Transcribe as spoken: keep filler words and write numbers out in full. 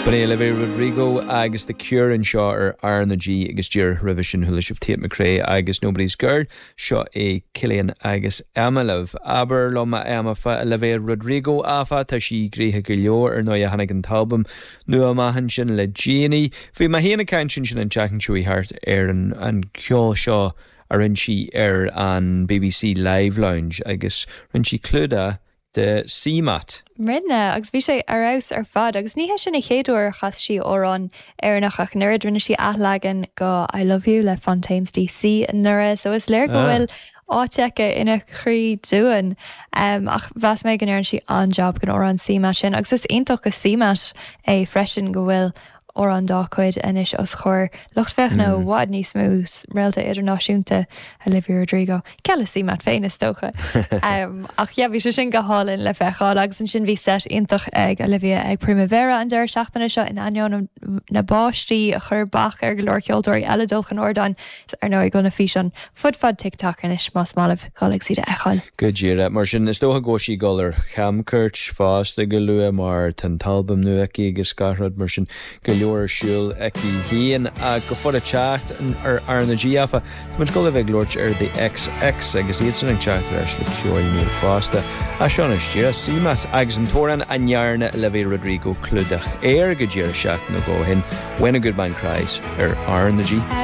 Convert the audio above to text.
B'in Olivia Rodrigo agus The Cure anseo ar R na G agus díreach roimhe sin chuala sibh Tate McRae agus Nobody's Girl seo é Cillian agus Emma. Abair liom Emma fá Olivia Rodrigo áfach tá sí gnoitheach go leor ar ndóigh tháinig an t-albam nua amach ansin le déanaí. Bhí mé féin ag caint sin an tseachtain seo thart ar an, an ceol seo a rinne sí ar an BBC Live Lounge agus rinne sí clúdach de CMAT. Rinne agus bhí sé ar fheabhas ar fad agus ní hé sin an chéad uair a chas sí amhrán Éireannach ach nuair rinne sí athleagan de I Love You le Fontaines DC anuraidh so is léir go ah. bhfuil áit aici ina croí dúinn um, ach mheas mé go ndearna sí an-job den amhrán CMAT sin agus is iontach go CMAT é freisin go bhfuil amhrán dá cuid anois os comhair lucht féachana mm. bhfad níos mó réalta idirnáisiúnta Olivia Rodrigo. Ceile CMAT féin is dócha. um, ach yeah, bhí sé sin go hálainn le feiceáil agus ansin bhí set iontach ag Olivia ag Primavera an deireadh seachtaine seo in ainneoin na báistí a chuir bac ar go leor ceoltóirí eile dul chun ardáin ar ndóigh go na físeáin fud fad TikTok anois más maith libh dul ag iad a fheiceáil. Go díreach mar sin is dócha go sí dul ar chamchuairt fosta go luath mar tá an t-albam nua aici agus gach rud mar sin go leor ar siúl aici féin a go fóill ag teacht ar R na G áfach Muid go bheith glóirt ar the XX agus iad san ag teacht leis le ceol nua fosta. A seo dúinn CMAT agus an t-amhrán a ndearna Olivia Rodrigo clúdach air go díreach seachtain ó shin When a Good Man Cries ar R na G.